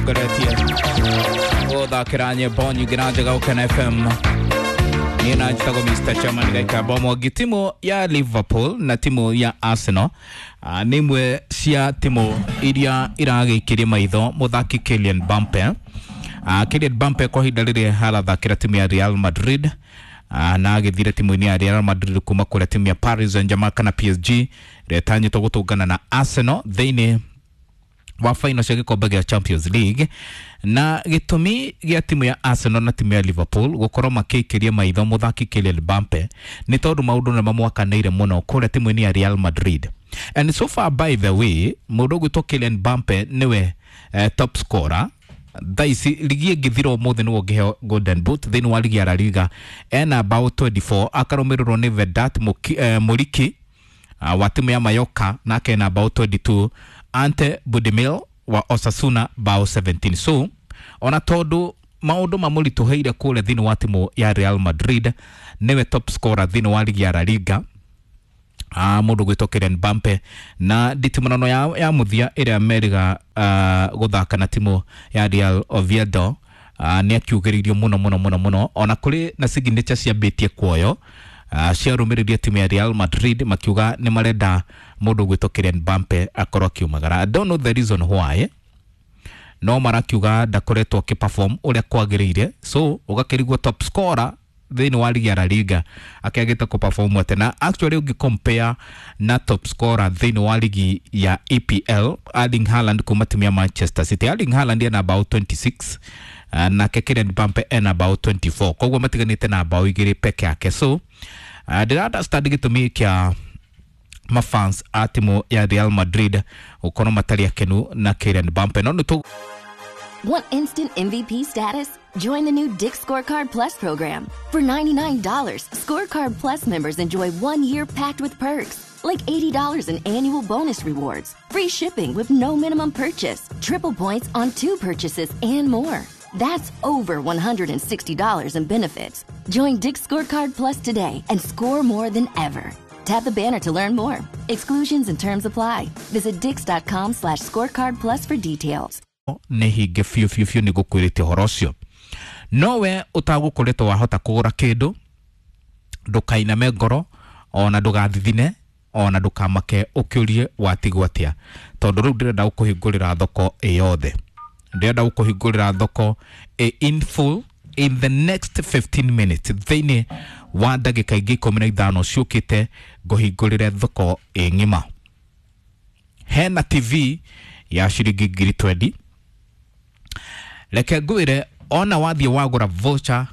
Ngongoretie gũthakĩra nyĩmbo nyingĩ na njega Gũkena FM. Niĩ na njĩtagwo Mr. Chairman Gaikamba Mwangi. Timu ya Liverpool na timu ya Arsenal nĩ imwe cia timu iria iragĩikĩria maitho mũthaki Kylian Mbappe. Kylian Mbappe kwa ihinda rĩrĩ arathakĩra timu ya Real Madrid, na agĩthire timu-inĩ ya Real Madrid kuma kũrĩa timu ya Paris Saint-Germain kana PSG ĩrĩa ĩtanyĩtwo gũtũngana na Arsenal thĩinĩ wa final cia gĩkombe gĩa Champions League. Na gĩtũmi gĩa timu ya Arsenal na timu ya Liverpool gũkorwo makĩikĩria maitho mũthaki Kylian Mbappe nĩ tondũ maũndũ nĩ mamwakanĩire mũno kũrĩa timu-inĩ ya Real Madrid. And so far, by the way, mũndũ ũgwĩtwo Kylian Mbappe nĩwe top scorer thaa ici. Ligi ĩngĩthira ũmũthĩ nĩwe ũngĩheo Golden Boot thĩinĩ wa ligi ya La Liga, ena bao 24, akarũmĩrĩrwo nĩ Vedat Muriqi wa timu ya Mallorca, nake ena bao 22, Ante Budimir wa Osasuna bao 17. So ona tondu maundu mamũritũhĩire kũrĩa thĩinĩ wa timu ya Real Madrid, nĩwe top scorer thĩinĩ wa ligi ya La Liga, mũndũ gwĩtwo Kylian Mbappe. Na nditimũrano ya mũthia ĩrĩa meriga gũthaka na timu ya Real Oviedo, nĩ akiugĩrĩirio mũno mũno mũno mũno, ona kũrĩ na signature ciambĩtie kuoyo ciarũmĩrĩria timu ya Real Madrid makiuga nĩ marenda mũndũ gwĩtwo Kylian Mbappe akorwo akiumagara. I don't know the reason why, no marakiuga ndakoretwo akĩperform ũrĩa kwagĩrĩire. So ũgakĩrigwo top scorer thĩinĩ wa ligi ya La Liga akĩagĩte kũperform atĩa? Na actually ũngĩ compare na top scorer thĩinĩ wa ligi ya EPL, Erling Haaland kuma timu ya Manchester City, Erling Haaland ena bao 26, nake Kylian Mbappe ena bao 24, koguo matiganĩte na bao 2 peke yake. So ndĩra understand gĩtũmi kĩa mafans a timu ya Real Madrid gũkorwo matarĩ akenu na Kylian Mbappe, no nĩ tũ Want instant MVP status? Join the new Dick's Scorecard Plus program. For $99, Scorecard Plus members enjoy 1 year packed with perks, like $80 in annual bonus rewards, free shipping with no minimum purchase, triple points on two purchases, and more. That's over $160 in benefits. Join Dick's Scorecard Plus today and score more than ever. Tap the banner to learn more. Exclusions and terms apply. Visit dicks.com/scorecard plus for details. Nĩ hinge biũ biũ biũ nĩ ngũkwĩrĩte ũhoro ũcio. No we ũtagũkoretwo wahota kũgũra kĩndũ, ndũkainame ngoro, ona ndũgathithine, ona ndũkamake ũkĩũrie watigwo atĩa, tondũ rĩu ndĩrenda gũkũhingũrĩra thoko ĩ yothe, ndĩrenda gũkũhingũrĩra thoko ĩ in full in the next 15 minutes. Thĩinĩ wa ndagĩka ingĩ 15 ciũkĩte ngũhingũrĩre thoko ĩ ng'ima. Hena TV ya ciringi 20,000. Reke ngwĩre, ona wathiĩ wagũra voucher,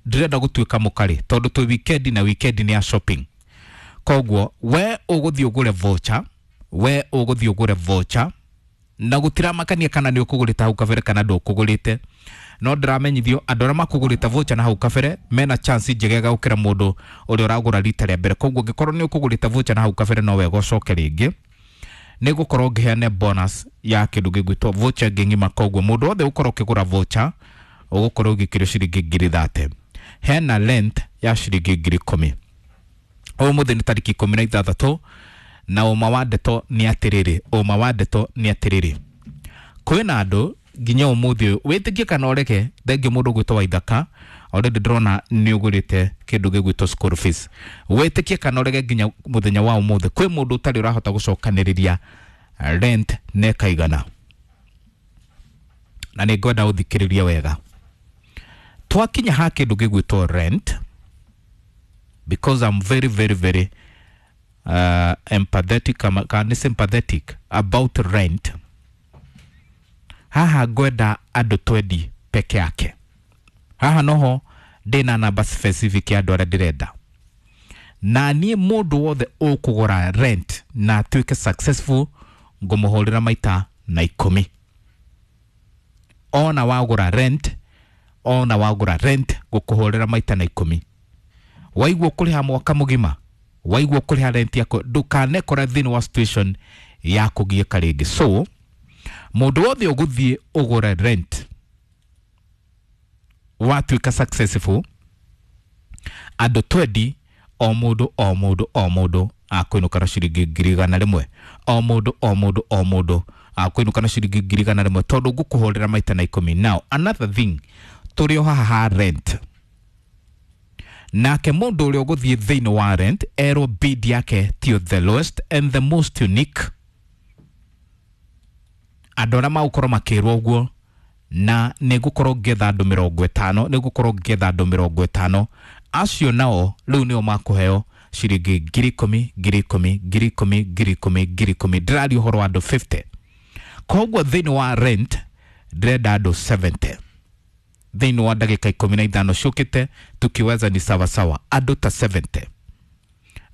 ndĩrenda gũtuĩka mũkarĩ tondũ twĩ weekend na weekend nĩ ya shopping. Koguo we ũgũthiĩ ũgũre voucher, we ũgũthiĩ ũgũre voucher, na gũtiramakania kana nĩ ũkũgũrĩte hau kabere kana ndũkũgũrĩte, no ndĩramenyithio andũ arĩa makũgũrĩte voucher na hau kabere mena chance njegega gũkĩra mũndũ ũrĩa ũragũra rita rĩa mbere. Koguo ũngĩkorwo nĩ ũkũgũrĩte voucher na hau kabere, no wega ũcoke rĩngĩ, nĩ gũkorwo ngĩheane bonus ya kĩndũ gĩgwĩtwo voucher ĩngĩ ng'ima. Koguo mũndũ wothe ũkorwo ũkĩgũra voucher ũgũkorwo ũgĩkĩrio ciringi 30,000. Hena rent ya ciringi 10,000. Ũmũthĩ nĩ tarĩki 16, na ũma wa ndeto nĩ atĩrĩrĩ, ũma wa ndeto nĩ atĩrĩrĩ, kwĩna andũ nginya ũmũthĩ ũyũ, wĩtĩkie kana ũrege. Thengiũ mũndũ ũgwĩtwo Waithaka, already ndĩrona nĩ ũgũrĩte kĩndũ gĩgwĩtwo school fees. Wĩtĩkie kana ũrege, nginya mũthenya wa ũmũthĩ kwĩ mũndũ ũtarĩ ũrahota gũcokanĩrĩria rent na ĩkaigana. Na nĩ ngwenda ũthikĩrĩrie wega twakinya ha kĩndũ gĩgwĩtwo rent, because I'm very very very empathetic kana sympathetic about rent. Haha ngwenda andũ 20 peke yake. Haha noho ndĩna namba specific ya andũ arĩa ndĩrenda, na niĩ mũndũ wothe ũkũgũra rent na atuĩke successful ngũmũhũrĩra maita na 10. Ona wagũra rent, ona wagũra rent, ngũkũhũrĩra maita na 10. Waigua kũrĩha mwaka mũgima, waigua kũrĩha rent yaku, ndũkanekora thĩinĩ wa situation ya kũgiĩka rĩngĩ. So mũndũ wothe ũgũthiĩ ũgũre rent watuĩka successful, andũ 20, o mũndũ o mũndũ o mũndũ akũinũka na ciringi 100,000, o mũndũ o mũndũ o mũndũ Akũinũka na ciringi 100,000 tondũ ngũkũhũrĩra maita na 10. Now another thing, tũrĩ o haha ha rent, nake mũndũ ũrĩa ũgũthiĩ thĩinĩ wa rent erwo bid yake tio the lowest and the most unique. Andũ arĩa magũkorwo makĩrwo ũguo, na nĩ ngũkorwo ngĩetha andũ 50, nĩ ngũkorwo ngĩetha andũ 50 acio nao rĩu nĩo makũheo ciringi 10,000, 10,000, 10,000, 10,000, 10,000. Ndĩraria ũhoro wa andũ 50. Koguo thĩinĩ wa rent ndĩrenda andũ 70 thĩinĩ wa ndagĩka 15 ciũkĩte, tukiweza ni sawasawa, andũ ta 70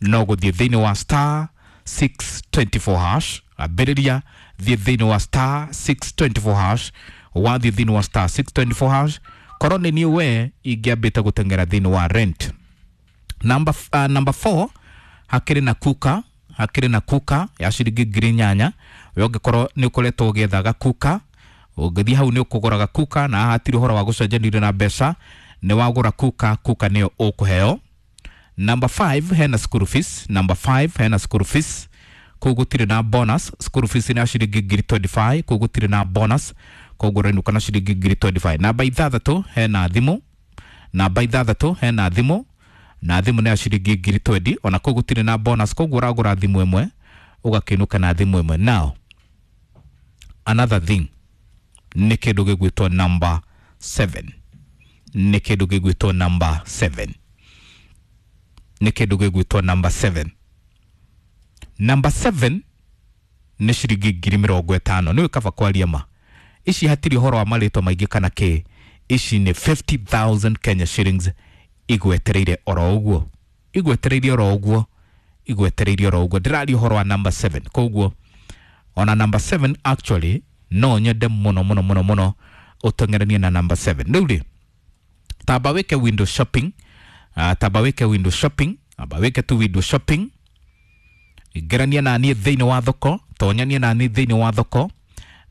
no gũthiĩ thĩinĩ wa star 624 hash. Ambĩrĩria, thiĩ thĩinĩ wa star 624 hash. Wathiĩ thĩinĩ wa star 624 hash, korwo nĩ niĩ we ingĩambĩte gũteng'era thĩinĩ wa rent. Number 4 hakĩrĩ na kuka, hakĩrĩ na kuka ya ciringi 8,000. We ũngĩkorwo nĩ ũkoretwo ũgĩetha gakuka, ũngĩthiĩ hau nĩ ũkũgũra gakuka, na haha hatirĩ ũhoro wa gũcenjanĩrio na mbeca, nĩ wagũra kuka, kuka nĩyo ũkũheo. Number 5 hena school fees. Number 5 hena school fees, kũu gũtirĩ na bonus. School fees nĩ ya ciringi 25,000, kũu gũtirĩ na bonus, koguo ũrainũka na ciringi 25,000. Namba 6 hena thimũ. Namba 6 hena thimũ, na thimũ nĩ ya ciringi 20,000, ona kũu gũtirĩ na bonus, koguo ũragũra thimũ ĩmwe ũgakĩinũka na thimũ ĩmwe. Now another thing nĩ kĩndũ gĩgwĩtwo number 7, nĩ kĩndũ gĩgwĩtwo number 7, nĩ kĩndũ gĩgwĩtwo number 7. Number 7 nĩ ciringi 50,000. Nĩwe kaba kwaria ma, ici hatirĩ ũhoro wa marĩtwa maingĩ kana kĩ, ici nĩ 50,000 Kenya shillings igwetereire oro ũguo, igwetereire oro ũguo, igwetereire oro ũguo. Ndĩraria ũhoro wa number 7. Koguo ona number 7 actually no nyende mũno mũno mũno mũno ũteng'eranie na number 7. Rĩu rĩ, tamba wĩke window shopping, tamba wĩke window shopping, amba wĩke tu window shopping. Ingĩrania na niĩ thĩinĩ wa thoko, tonyania na niĩ thĩinĩ wa thoko,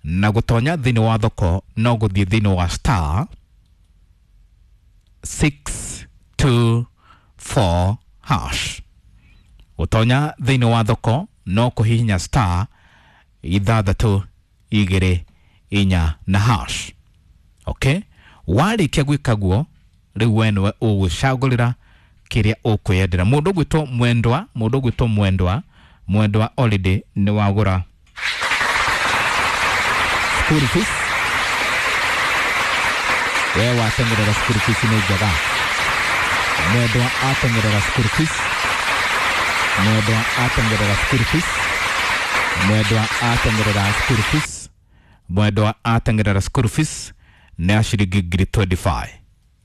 na gũtonya thĩinĩ wa thoko no gũthiĩ thĩinĩ wa star 624 hash. Gũtonya thĩinĩ wa thoko no kũhihinya star 6 2 4 na hash. Okay, warĩkia gwĩka guo rĩu we nĩwe ũgũcagũrĩra kĩrĩa ũkwĩyendera. Mũndũ ũgwĩtwo Mwendwa, mũndũ ũgwĩtwo Mwendwa, Mwendwa already nĩ wagũra school fees. We wateng'erera school fees nĩ njega. Mwendwa ateng'erera school fees, Mwendwa ateng'erera school fees, Mwendwa ateng'erera school fees, Mwendwa ateng'erera school fees nĩ ya ciringi 25,000.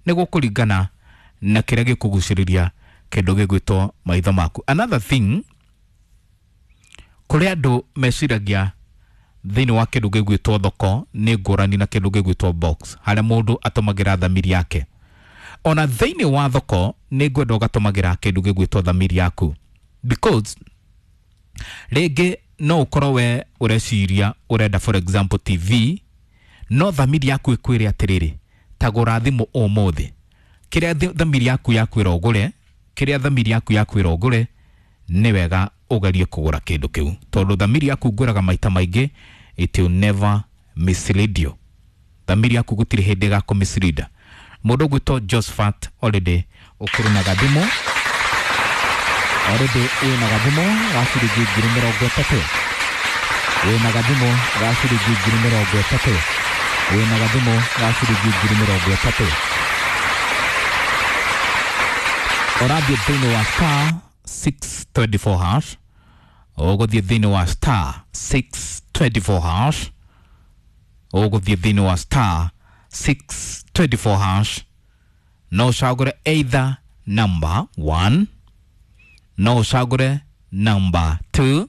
Nĩ gũkũringana na kĩrĩa gĩkũgucĩrĩria kĩndũ gĩgwĩtwo maitho maku. Another thing, kũrĩ andũ meciragia thĩinĩ wa kĩndũ gĩgwĩtwo thoko nĩ ngũrani na kĩndũ gĩgwĩtwo box, harĩa mũndũ atũmagĩra thamiri yake. Ona thĩinĩ wa thoko nĩ ngwenda ũgatũmagĩra kĩndũ gĩgwĩtwo thamiri yaku, because rĩngĩ no ũkorwo we ũreciria ũrenda for example TV, no thamiri yaku ĩkwĩre atĩrĩrĩ, ta gũra thimũ ũmũthĩ. Kĩrĩa thamiri yaku yakwĩra ũgũre, kĩrĩa thamiri yaku yakwĩra ũgũre, nĩ wega ũgerie kũgũra kĩndũ kĩu, tondũ thamiri yaku ngwĩraga maita maingĩ, it will never mislead you. Thamiri yaku gũtirĩ hĩndĩ ĩgakũ mislead. Mũndũ ũgwĩtwo Josephat already ũkĩrĩ na gathimũ, already wĩna gathimũ ga ciringi 30,000, wĩna gathimũ ga ciringi 30,000, wĩna gathimũ ga ciringi 30,000. Ũrathiĩ thĩinĩ wa star 624 hash, ũgũthiĩ thĩinĩ wa star 624 hash, ũgũthiĩ thĩinĩ wa star 624 hash, no ũcagũre either number 1, no ũcagũre number 2,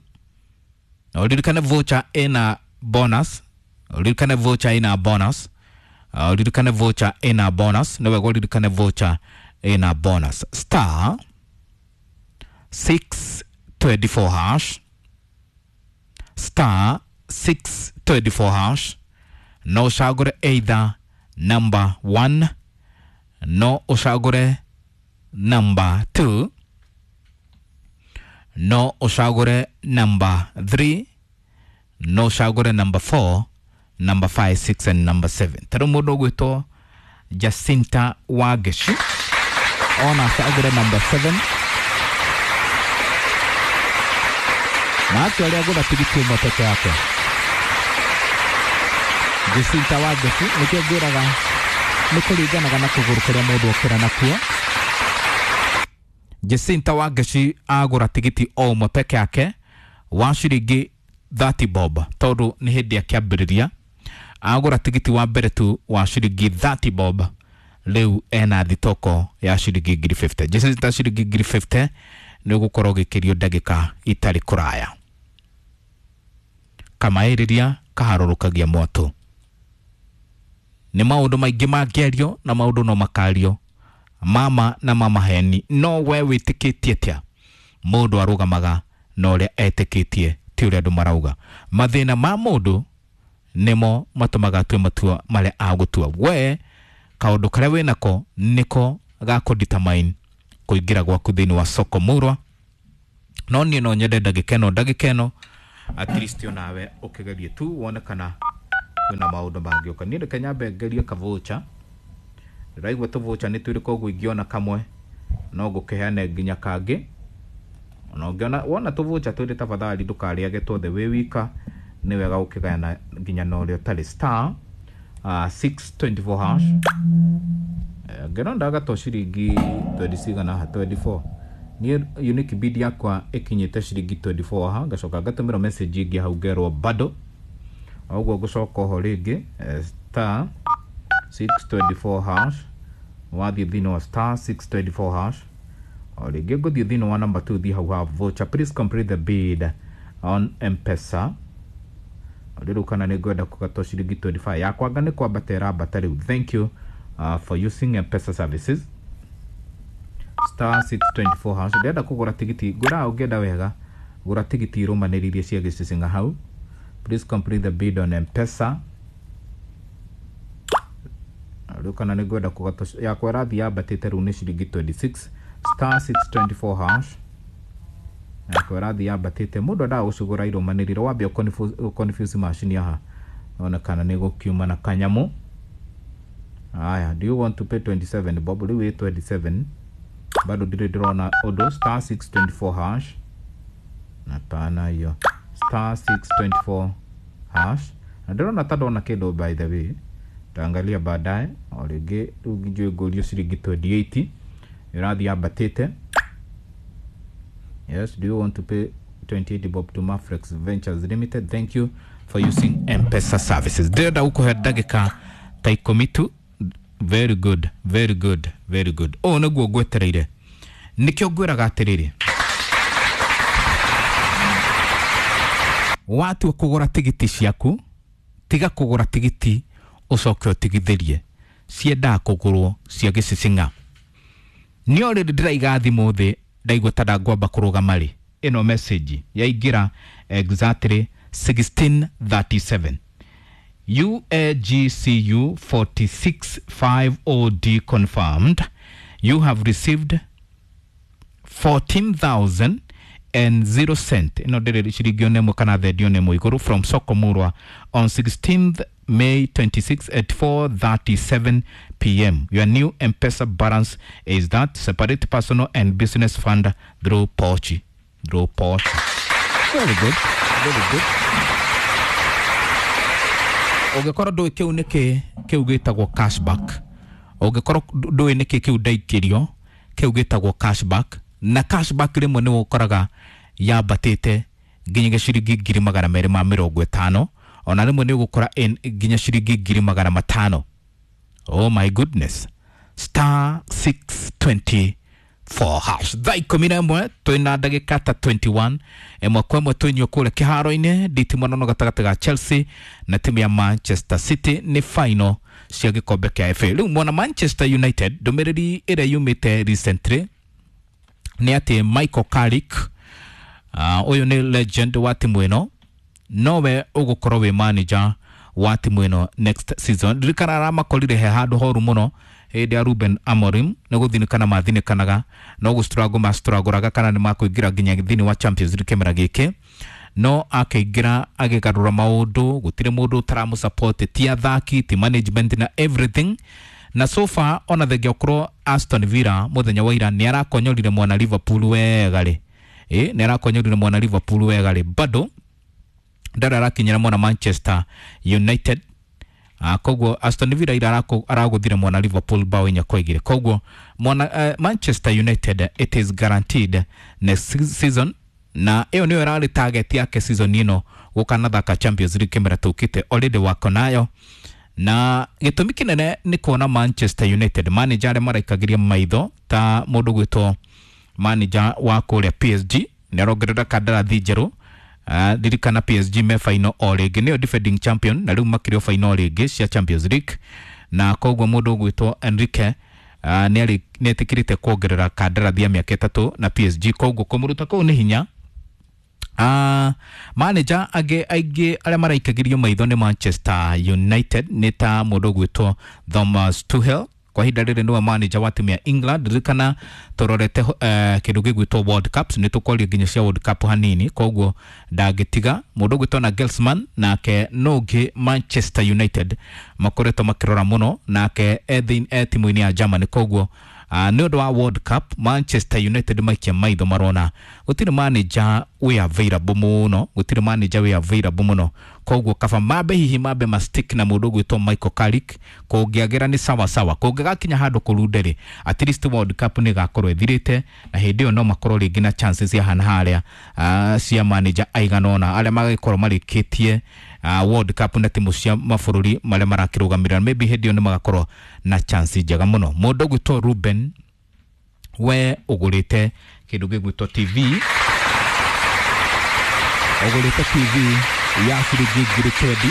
na ũririkane voucher ĩna bonus, ũririkane voucher ĩna bonus, ũririkane voucher ĩna bonus, nĩ wega ũririkane voucher ĩna bonus. Star 624 hash, star 624 hash, no ũcagũre either number 1, no ũcagũre number 2, no ũcagũre number 3. No ũcagũre number 4, number 5, 6 and number 7. Ta rĩu mũndũ ũgwĩtwo Jacinta Wangeci ona acagũre number 7, na acio arĩa agũra tigiti ũmwe peke yake. Jacinta Wangeci, nĩkĩo ngwĩraga nĩ kũringanaga na kũgũrũ kũrĩa mũndũ okĩra nakuo. Jacinta Wangeci agũra tigiti o ũmwe peke yake wa ciringi 30 bob, tondũ nĩ hĩndĩ akĩambĩrĩria. Agũra tigiti wa mbere tu wa ciringi 30 bob, rĩu ena thitoko ya ciringi ngiri 50. Jacinta, ciringi ngiri 50 nĩ ũgũkorwo ũgĩkĩrio ndagĩka itarĩ kũraya. Kamaĩrĩria kaharũrũkagia mwatũ. Nĩ maũndũ maingĩ mangĩario na maũndũ no makario mama na mama heni, no we wĩtĩkĩtie atĩa? Mũndũ arũgamaga na ũrĩa etĩkĩtie, ti ũrĩa andũ marauga. Mathĩna ma mũndũ nĩmo matũmaga atue matua marĩa agũtua. We kaũndũ karĩa wĩnako nĩko gakũ determine kũingĩra gwaku thĩinĩ wa soko murwa. No niĩ no nyende ndagĩka ĩno, ndagĩka ĩno at least onawe ũkĩgerie tu wone kana kwĩna maũndũ mangĩũka. Niĩ reke nyambe ngerie kavoucher. Ndĩraigua tũvoucher nĩ twĩrĩ, koguo ingĩona kamwe no ngũkĩheane nginya kangĩ. Ona ũngĩona wona tũvoucher twĩrĩ, tafadhali ndũkarĩage tuothe wĩ wika, nĩ wega ũkĩgayana nginya na ũrĩa ũtarĩ. Star 624 hash. Ngĩona ndagatwo ciringi 20 cigana haha, 24. Niĩ unique bid yakwa ĩkinyĩte ciringi 24 haha, ngacoka ngatũmĩrwo message ĩngĩ hau ngerwo bado. Ũguo ngũcoka oho rĩngĩ, star 624 hash. Wathiĩ thĩinĩ wa star 624 hash, o rĩngĩ ngũthiĩ thĩinĩ wa number 2, thiĩ hau ha voucher, please complete the bid on M-Pesa. Rĩu kana nĩ ngwenda kũgatwo ciringi 25 yakwa, anga nĩ kwambata ĩrambata rĩu. Thank you for using M-Pesa services. Star 624 hash. Ndĩrenda kũgũra tigiti, ngwĩraga ũngĩenda wega gũra tigiti irũmanĩrĩirie cia gĩcicinga hau. Please complete the bid on M-Pesa. Rĩu kana nĩ ngwenda kũgatwo yakwa ĩrathiĩ yambatĩte, rĩu nĩ ciringi 26. Star 624 hash, yakwa ĩrathiĩ yambatĩte. Mũndũ endaga gũcigũra irũmanĩrĩire, wambe ũconfuse macini haha one kana nĩ gũkiuma na kanyamũ. Aya, do you want to pay 27 bob? Rĩu ĩ 27, bado ndirĩ ndĩrona ũndũ. Star 624 hash, napana hiyo star 624 hash, na ndĩrona ta ndona kĩndũ. By the way, taangalia baadaye. O rĩngĩ rĩu njũĩ ngũrio ciringi 28, ĩrathiĩ yambatĩte. Yes, do you want to pay 28 bob to Mafrex Ventures Limited? Thank you for using M-Pesa services. Ndĩrenda gũkũhe ndagĩka ta 10 tu. Very good, very good, very good. Ũũ nĩguo ngwetereire, nĩkĩo ngwĩraga atĩrĩrĩ, watua kũgũra tigiti ciaku, tiga kũgũra tigiti ũcoke ũtigithĩrie, ciendaga kũgũrwo cia gĩcicinga. Nĩ already ndĩraiga thimũ thĩ, ndaigua ta ndangwamba kũrũgama rĩ. Ĩno message yaingĩra exactly 16:37. UAGCU 465OD confirmed you have received 14,000 and 0 cent, ĩno ndĩrĩ ciringi ona ĩmwe kana thendi ona ĩmwe igũrũ, from Soko Murwa on 16th May 26 at 4:37 p.m. Your new M-Pesa balance is that. Separate personal and business fund through Pochi, through Pochi. Very good, very good. Ũngĩkorwo ndũĩ kĩu nĩkĩ, kĩu gĩtagwo cashback. Ũngĩkorwo ndũĩ nĩkĩ kĩu ndaikĩrio, kĩu gĩtagwo cashback. Na cashback rĩmwe nĩ ũkoraga yambatĩte nginya ciringi 250,000, ona rĩmwe nĩ ũgũkora nginya ciringi 500,000. Oh my goodness. Star 624 hash. Thaa 11 twĩna ndagĩka ta 21. Ĩmwe kwa ĩmwe twĩnyio kũrĩa kĩharo-inĩ nditimũrano gatagatĩ ga Chelsea na timu ya Manchester City, nĩ final cia gĩkombe kĩa FA. Rĩu mwana Manchester United, ndũmĩrĩri ĩrĩa yumĩte recently nĩ atĩ Michael Carrick, ũyũ nĩ legend wa timu ĩno, nowe ũgũkorwo wĩ manager wa timu ĩno next season. Ririkana aramakorire he handũ horu mũno hĩndĩ ya Ruben Amorim, nĩ gũthinĩkana mathinĩkanaga, no gũstruggle mastruggle kana nĩ makũingĩra nginya thĩinĩ wa Champions League kĩmera gĩkĩ. No akĩingĩra agĩgarũra maũndũ, gũtirĩ mũndũ ũtaramũ ti athaki, ti management na everything. Na so far ona thengia ũkorwo Aston Villa mũthenya wa ira nĩ arakonyorire mwana Liverpool wega rĩ, nĩ arakonyorire mwana Liverpool wega rĩ, bado ndarĩ arakinyĩra mwana Manchester United. Koguo Aston Villa ira aragũthire mwana Liverpool bao 4-2. Koguo mwana Manchester United, it is guaranteed next season, na ĩyo nĩyo ĩrarĩ target yake season ĩno, gũkanathaka Champions League kĩmera tũkĩte, already wako nayo. Na gĩtũmi kĩnene nĩ kuona Manchester United manager arĩa maraikagĩria maitho ta mũndũ gwĩtwo manager wa kũrĩa PSG nĩ arongerera kandarathi njerũ. Ririkana PSG me final o rĩngĩ, nĩyo defending champion, na rĩu makĩrĩ o final rĩngĩ cia Champions League. Na koguo mũndũ ũgwĩtwo Enrique nĩ etĩkĩrĩte kuongerera kandarathi ya mĩaka 3 na PSG, koguo kũmũruta kũu nĩ hinya. Manager angĩ aingĩ arĩa maraikagĩrio maitho nĩ Manchester United nĩ ta mũndũ ũgwĩtwo Thomas Tuchel. Kwa ihinda rĩrĩ nĩwe manager wa timu ya England. Ririkana tũrorete kĩndũ gĩgwĩtwo World Cups, nĩ tũkwaria nginya cia World Cup hanini, koguo ndangĩtiga mũndũ ũgwĩtwo na Nagelsmann, nake no ũngĩ Manchester United makoretwo makĩrora mũno, nake e timu-inĩ ya Germany. Koguo nĩ ũndũ wa World Cup Manchester United maikia maitho marona gũtirĩ manager wĩ available mũno, gũtirĩ manager wĩ available mũno, koguo kaba mambe hihi mambe ma stick na mũndũ ũgwĩtwo Michael Carrick. Kũngĩagĩra nĩ sawa sawa, kũngĩgakinya handũ kũrunde rĩ, at least World Cup nĩ ĩgakorwo ĩthirĩte, na hĩndĩ ĩyo no makorwo rĩngĩ na chances cia hana harĩa cia manager aigana ũna arĩa magĩkorwo marĩkĩtie World Cup na timu cia mabũrũri marĩa marakĩrũgamĩrĩra, maybe hĩndĩ ĩyo nĩ magakorwo na chance njega mũno. Mũndũ ũgwĩtwo Ruben, we ũgũrĩte kĩndũ gĩgwĩtwo TV, ũgũrĩte TV ya ciringi 10,000,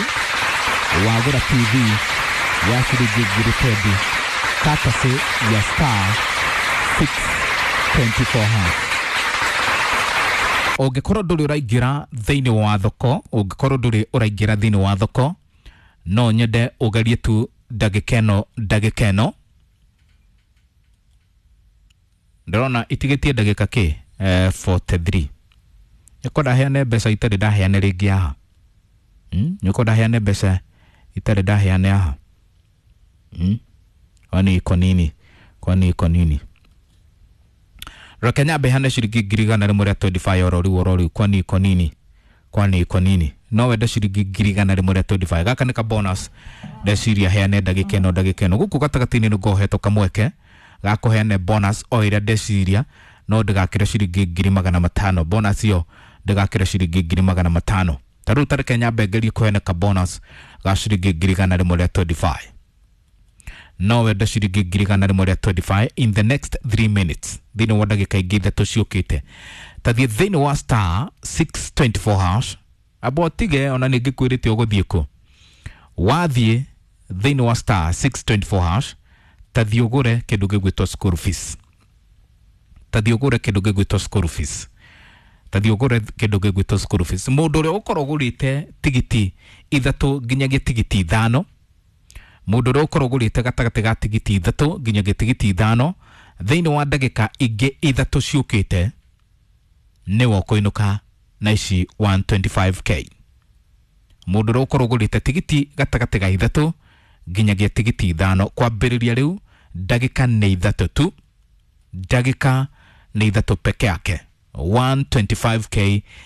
wagũra TV ya ciringi 10,000 courtesy ya star 624 hash. Ũngĩkorwo ndũrĩ ũraingĩra thĩinĩ wa thoko, ũngĩkorwo ndũrĩ ũraingĩra thĩinĩ wa thoko, no nyende ũgerie tu ndagĩka ĩno, ndagĩka ĩno ndĩrona itigĩtie ndagĩka kĩ 43. Nĩko ndaheane mbeca itarĩ ndaheane rĩngĩ haha, nĩko ndaheane mbeca itarĩ ndaheane haha, kwani iko nini, kwani iko nini? Reke nyambe heane ciringi 125,000 oro rĩu oro rĩu, kwani iko nini, kwani iko nini? No wende ciringi 125,000, gaka nĩ ka bonus ndeciria heane ndagĩka ĩno, ndagĩka ĩno gũkũ gatagatĩ-inĩ nĩ ngohetwo kamweke ga kũheane bonus o ĩrĩa ndeciria, no ndĩgakĩre ciringi 500,000. Bonus ĩyo ndĩgakĩre ciringi 500,000. Ta rĩu tareke nyambe ngerie kũheana ka bonus ga ciringi 125,000. No wende ciringi 125,000 in the next 3 minutes, thĩinĩ wa ndagĩka ingĩ 3 ciũkĩte. Tathiĩ thĩinĩ wa star 624 hash, amba ũtige ona nĩ ngĩkwĩrĩte ũgũthiĩ kũ. Wathiĩ thĩinĩ wa star 624 hash, tathiĩ ũgũre kĩndũ gĩgwĩtwo school fees, tathiĩ ũgũre kĩndũ gĩgwĩtwo school fees, tathiĩ ũgũre kĩndũ gĩgwĩtwo school fees. Mũndũ ũrĩa ũkorwo ũgũrĩte tigiti 3 nginyagia tigiti 5, mũndũ ũrĩa ũkorwo ũgũrĩte gatagatĩ ga tigiti 3 nginyagia tigiti 5 thĩinĩ wa ndagĩka ingĩ 3 ciũkĩte, nĩwe ũkũinũka na ici 125k. Mũndũ ũrĩa ũkorwo ũgũrĩte tigiti gatagatĩ ga 3 nginyagia tigiti 5 kwambĩrĩria rĩu ndagĩka nĩ 3 tu, ndagĩka nĩ 3 peke yake, 125k.